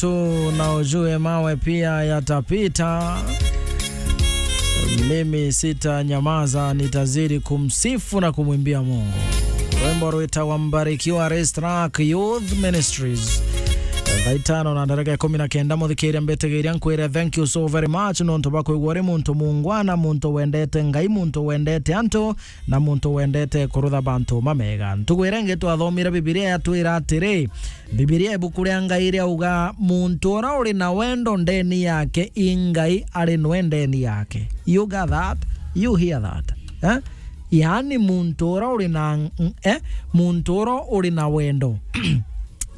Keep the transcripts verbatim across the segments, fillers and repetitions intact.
tu na ujue mawe pia yatapita. Mimi sitanyamaza, nitazidi kumsifu na kumwimbia Mungu. Rwimbo rwitagwa Mbarikiwa, Race Track Youth Ministries. Thaa itano na ndareka ikumi na kenda, muthikiria, mbitigiria nkwire thank you so very much nontu bwa kwigua uri muntu mungwana, muntu wendete Ngai, muntu wendete antu, na muntu wendete kurutha bantu mamega. Ntugu iria ingi twathomire Bibilia yatwira atiri, Bibilia ibuku ria Ngai riauga, "Muntu ura uri na wendo ndeni yake, i Ngai ari nwe ndeni yake." You got that? You hear that? Eh? Yaani muntu ura uri na, eh? Muntu ura uri na wendo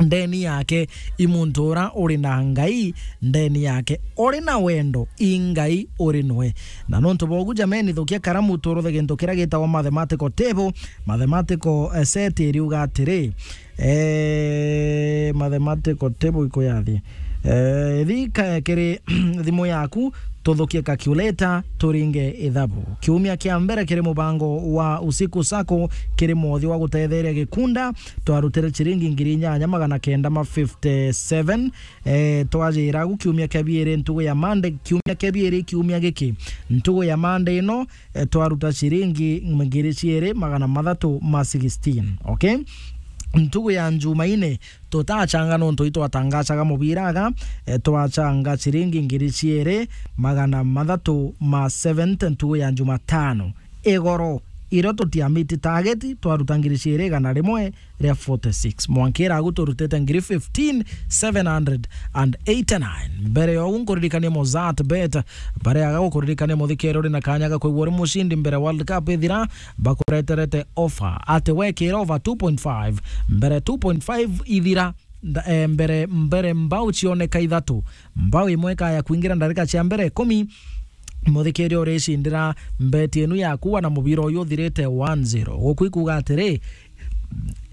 ndeni yake, i muntu ura uri na Ngai ndeni yake. Uri na wendo, i Ngai uri nwe. Na nontu bogu, jameni, thukia karamu, turuthe gintu kiria gitagwa mathematical table. Mathematical, eh, set iriuga atiri, eh, mathematical table ikuyathi. Eh, thi ka-, kiri thimu yaku, tuthukie calculator, turinge ithabu. Kiumia kia mbere kiri mubango wa Usiku Sacco, kiri mwothi wa gutetheria gikunda, twarutire ciringi ngiri inyanya magana kenda ma fifty seven. Eh, twajira agu kiumia kia biiri ntugu ya Monday, kiumia kia biiri kiumia giki, ntugu ya Monday ino, eh, twaruta ciringi ngiri ciiri magana mathatu ma sixteen. Okay? Ntugu ya Njumaine, tutachanga nontu itwatangacaga mubira aga, eh, twachanga ciringi ngiri ciiri magana mathatu ma seventy ntugu ya Njumatano. Igoro, irio tutiamiti target, twaruta ngiri ciiri igana rimwe ria forty six. Mwanka iragu turutite ngiri fifteen seven hundred and eighty nine. Mbere ya ugu nkuririkanie Mozart Bet, bareaga gukuririkania muthikere uri na kanya ga kwigua uri mucindi mbere World Cup ithira, bakureterete offer. Ati wekira over two point five, mbere two point five ithira, nda-, eh, mbere, mbere mbau cioneka ithatu, mbau imwe ikaya kwingira ndarika cia mbere ikumi, muthikiria uricindira mbeti inu yaku wana mubira uyu uthirite one zero. Guku ikuuga atiri,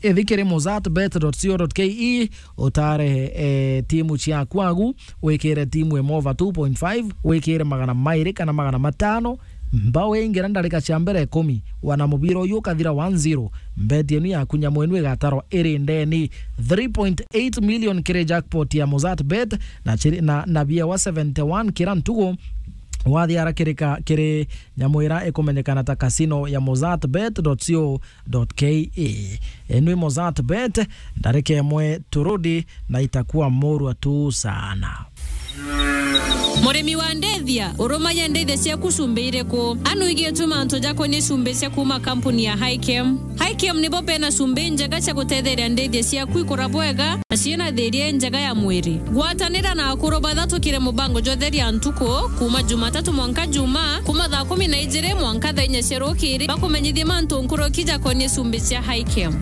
ithi kiri mozart bet dot co dot ke, utare, eh, timu ciaku agu, wikire timu imwe over two point five, wikire magana mairi kana magana matano, mbau ingira ndarika cia mbere ikumi, wana mubira uyu ukathira one zero, mbeti inu yaku nyamu inu igatarwa iri ndeni. Three point eight million kiri jackpot ya Mozart Bet, na chiri-, na, na biewa seventy one kira ntugu, wathiara kirika kiri nyamu ira ikumenyekana ta casino ya mozart bet dot co dot ke. Inu i Mozart Bet, ndarika imwe turudi na itakuwa murwa tu sana. Murimi wa ndithia, urumagia ndithia ciaku cumbĩ irĩkũ? Anu igĩtwe mantu jakonie cumbĩ cia kuma kampuni ya Hikem. Hikem nibo bena cumbĩ njega cia gutetheria ndithia ciaku ikura bwega na ciina thiria njega ya mwiri. Gwatanira na akuru bathatu kiri mubango jwa Theria Ntuku, kuma Jumatatu mwanka Juma, kuma thaa kumi na ijiri mwanka thaa inya cia rukiri, bakumenyithie mantu nkuruki jakonie cumbĩ cia Hikem.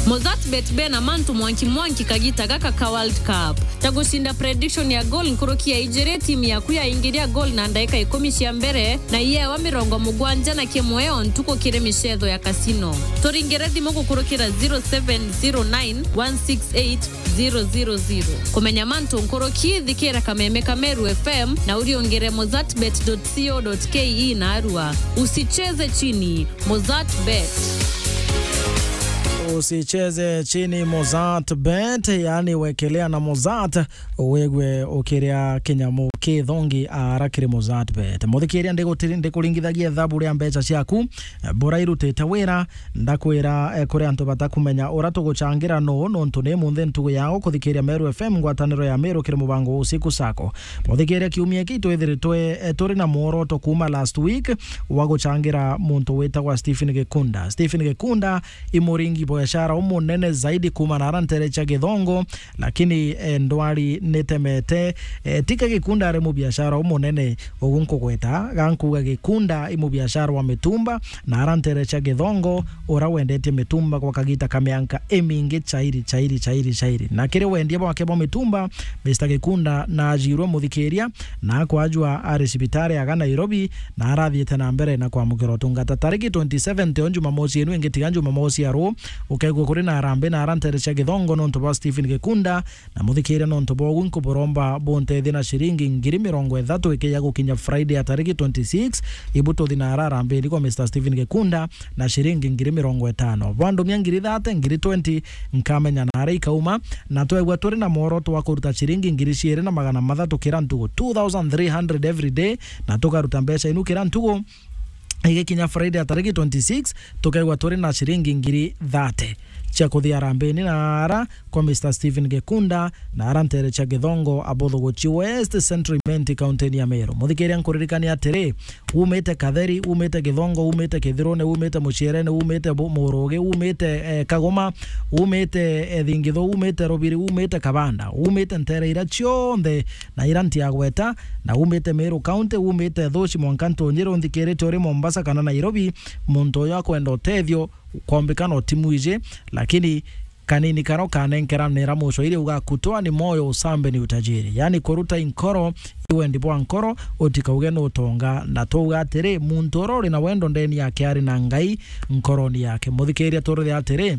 Mozart Bet bena mantu mwanki mwanki kagita gaka ka World Cup. Ta gucinda prediction ya goal nkuruki ya ijiri, timu yaku yaingiria goal na ndaika ikumi cia mbere, na iyewa mirongo mugwanja na kimwe o ntuku kiri micetho ya casino. Turingire thimu gukurukira zero seven zero nine one six eight zero zero zero. Kumenya mantu nkuruki, thikira kameme ka Meru F M na uriungire mozart bet dot co dot ke na arua. Usicheze chini. Mozart Bet. Usicheze chini Mozart Bet, yani wekelea na Mozart, wegwe ukiria kinyamu kithongi ara kiri Mozart Bet. Muthikiria, ndigutiri-, ndikuringithagia ithabu ria mbeca ciaku, eh, bora irutite wira, ndakwira, eh, kuri antu batakumenya ura tuguchangira no, nontu ni munthi ntugu yao kuthikiria Meru F M, ngwataniro ya Meru kiri mubango wa Usiku Sacco. Muthikiria, kiumia giki twithiritwe, eh, turi na mworoto kuma last week wa guchangira muntu witagwa Stephen Gikunda. Stephen Gikunda i muringi biashara umunene zaidi kuma na ara ntere cia Githongo, lakini, eh, ndwari nitemete, eh, tika Gikunda ari mubiashara umunene ugu nkugweta, gankuga Gikunda i mubiashara wa mitumba, na ara ntere cia Githongo, ura wendetie mitumba gwa kagita ka mianka imingi chairi, chairi, chairi, chairi. Na kiri wendia bwake bwa mitumba, Mister Gikunda naajirwe, muthikiria, na akwajwa ari cibitari aga Nairobi, na arathiite na mbere na kwamukira utungata. Tariki twenty seven, o Jumamosi inu ingi tiga Jumamosi ya ruu, Ukaigua kuri na arambe na ara ntere cia Githongo nontu bwa Stephen Gikunda, na muthikiria nontu bwa ugu nkuburomba buntethie na ciringi ngiri mirongo ithatu ikiya gukinya Friday ya tariki twenty-six, ibu tuthi na ara arambe ni kwa Mister Stephen Gikunda na ciringi ngiri mirongo itano. Bwandumia ngiri thirty, ngiri twenty, nkamenya na ara ikauma, na twegua turi na mworoto wa kuruta ciringi ngiri ciiri na magana mathatu kira ntugu, two thousand three hundred every day, na tukaruta mbeca inu kira ntugu. Igikinya Friday ya tariki twenty-six, tukaigua turi na ciringi ngiri thirty cia kuthia arambeni na ara kwa Mister Stephen Gikunda na ara ntere cia Githongo, Abothogochi West, Central Imenti, kaunti ya Meru. Muthikiria, nkuririkania atiri, umite Katheri, umite Githongo, umite Kithirune, umite Mucierene, umite Bu-, Murugi, umite, eh, Kagoma, umite, eh, Thingithu, umite Rubiri, umite Kabanda, umite ntere ira cionthe na ira ntiagweta, na umite Meru County, umite Thuci mwanka Ntunjiru, nthikirite uri Mombasa kana Nairobi, muntu uyu akwenda utethio, kwombikana utimu iji, lakini kanini karo kanenkeranira mucwairi uga, "Kutoa ni moyo, usambe ni utajiri." Yani kuruta inkoro, iwendi bwa nkoro, utikauge ni utonga. Na twauga atiri, muntu uria uri na wendo ndeni yake ari na Ngai nkoroni yake. Muthikiria, turuge atiri,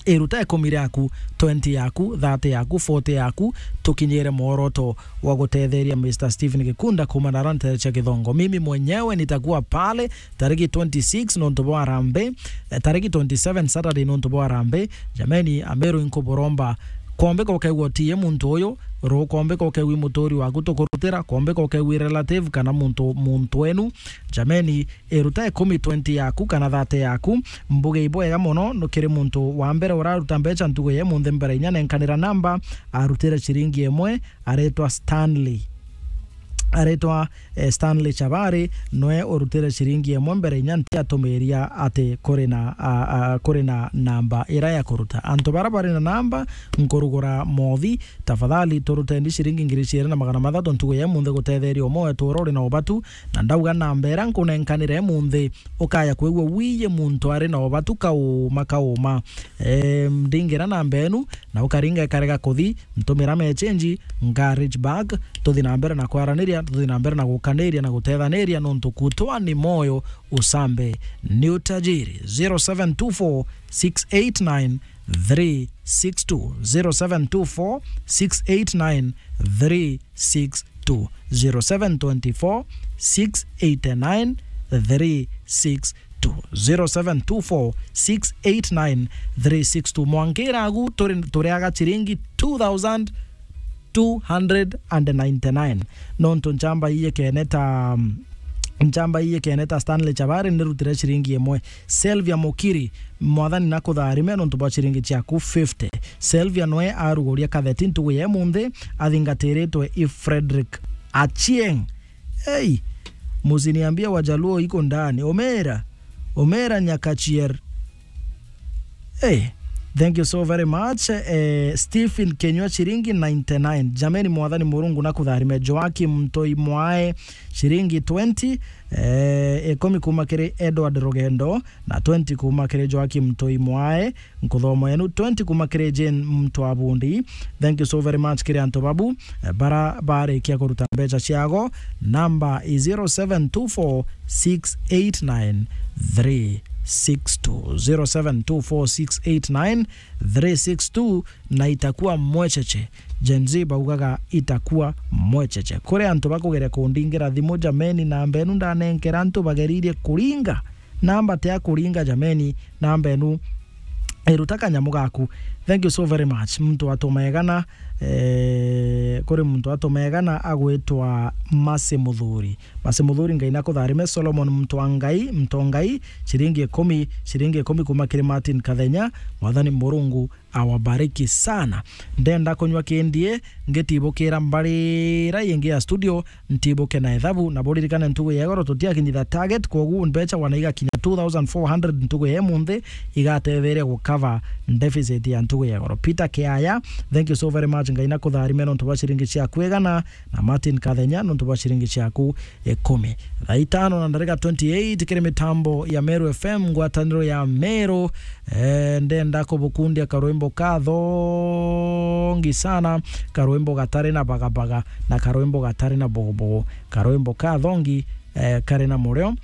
iruta ikumi riaku, twenty yaku, thirty yaku, forty yaku, tukinyire mworoto wa gutetheria Mister Stephen Gikunda kuuma na ara ntere cia Githongo. Mimi mwenyewe nitakuwa pale tariki twenty-six nontu bwa arambe, eh, tariki twenty-seven Saturday nontu bwa arambe. Jameni, Ameru, inkuburomba, kwombika ukaigua utiye muntu uyu, ru-, kwombika ukaigua i muturi waku tukurutira, kwombika ukaigua i relative kana muntu, muntu wenu. Jameni, iruta ikumi, twenty yaku kana thirty yaku. Mbuge ibwega mono no kiri muntu wa mbere uraruta mbeca ntugu ya imunthi mbere inya nenkanira namba, arutire ciringi imwe, aretwa Stanley. Aretwa, eh, Stanley Chabari, noe urutire ciringi imwe mbere inya ntiatumiria ati kuri na, a, a, kuri na namba ira ya kuruta. Antu bara bari na namba, nkurugura mothi, tafadhali turuteni ciringi ngiri ciiri na magana mathatu ntugu ya imunthi gutetheria umwe wetu uria uri na ubatu, na ndauga namba ira nkunenkanira imunthi, ukaya kwigua wiye muntu ari na ubatu kauma kauma. Em, ndingira namba enu, na ukaringa ikarega kuthi, ntumira mechenji, nga reach back, tuthi na mbere na kwaraniria, tuthi na mbere na gukaniria na gutethaniria, nontu kutwa ni moyo, usambe ni utajiri. Zero seven two four six eight nine three six two, zero seven two four six eight nine three six two, zero seven twenty-four six eight nine three six two, zero seven two four six eight nine three six two. Mwankira agu turi, turiaga chiringi two thousand two hundred and ninety-nine. Nontu nchamba iye kene ta, nchamba iye kene ta Stanley Chabari nirutire chiringi imwe. Selvia Mukiri, Mwathani nakutharime nontu bwa chiringi chiaku fifty. Selvia noe aruguria katheti ntugu ya imunthi, athingatiritwe i Frederick Achieng. Ei, musiniambie Wajaluo iko ndani. Omera, Omera Nyakachier. Hey, thank you so very much. Eh, Stephen Kenywa chiringi ninety-nine. Jameni, Mwathani Murungu nakutharime. Joakim Mtoi Mwae chiringi twenty. Eh, ikumi kuma kiri Edward Rugendo na twenty kuma kiri Joakim Mtoi Mwae. Nkuthoma yenu, twenty kuma kiri Jane Mtwabundi. Thank you so very much kiri antu babu, eh, bara barikia kuruta mbeca ciago. Namba i zero seven two four six eight nine three six two, zero seven two four six eight nine three six two, na itakuwa mwecheche. Gen Z baugaga itakuwa mwecheche. Kuri antu bakugeria kundingira thimu, jameni, namba enu ndanenkera antu bageririe kuringa. Namba ti ya kuringa, jameni, namba enu iruta kanyamu gaku. Thank you so very much. Muntu atumegana, eh, kuri muntu atumegana agwitwa Masi Muthuri. Masi Muthuri, Ngai nakutharime. Solomon Mtwangai, Mtongai, chiringi ikumi, chiringi ikumi kuma kiri Martin Kathenya. Mwathani Murungu awabariki sana. Ndenda kunywa kindie, ngitibukira mbarira ingi ya studio, ntibuke na ethabu, na buririkane ntugu ya igoro tutiakinyitha target, kwogu mbeca wana igakinya two thousand four hundred ntugu ya imunthi, igatetheria gu cover deficit ya ntugu ya igoro. Peter Kiaya, thank you so very much, Ngai nakutharime nontu bwa ciringi ciaku igana, na Martin Kathenya nontu bwa ciringi ciaku ikumi. Thaa itano na ndarika twenty-eight kiri mitambo ya Meru F M, ngwataniro ya Meru. Eh, ndenda kubukundia karwimbo kathongi sana, karwimbo gatari na bagabaga, na karwimbo gatari na bogobogo, karwimbo kathongi, eh, kari na murio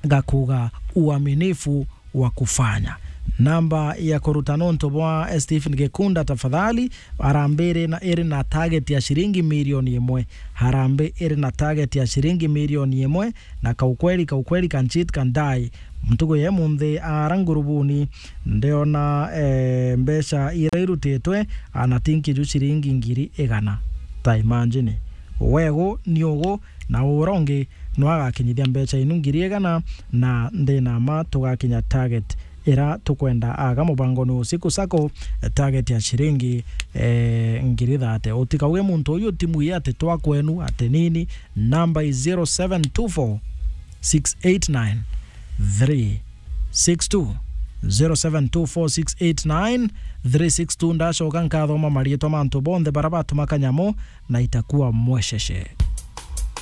gakuga uaminifu wa kufanya. Namba ya kuruta nontu bwa Stephen Gikunda, tafadhali. Harambee iri na, iri na target ya ciringi milioni imwe. Harambee iri na target ya ciringi milioni imwe, na kaukweli, kaukweli, kanchit kandai. Ntuku ya munthi ara ngurubuni, ndiona, eh, mbeca iria irutitwe, ana tinki ju ciringi ngiri igana. Ta imagine. Wegu ni ugu, na uria ungi no agakinyithia mbeca inu ngiri igana, na ndina ma tugakinya target ira tukwenda aga mubangoni usiku sako, target ya ciringi, eh, ngiri thate. Utikauge muntu uyu timu ii ati twa kwenu, ati nini. Namba is zero seven two four six eight nine three six two, zero seven two four six eight nine three six two. Ndacoka nkathoma mariitwa ma antu bonthe bara batuma kanyamu, na itakuwa mwesheshe.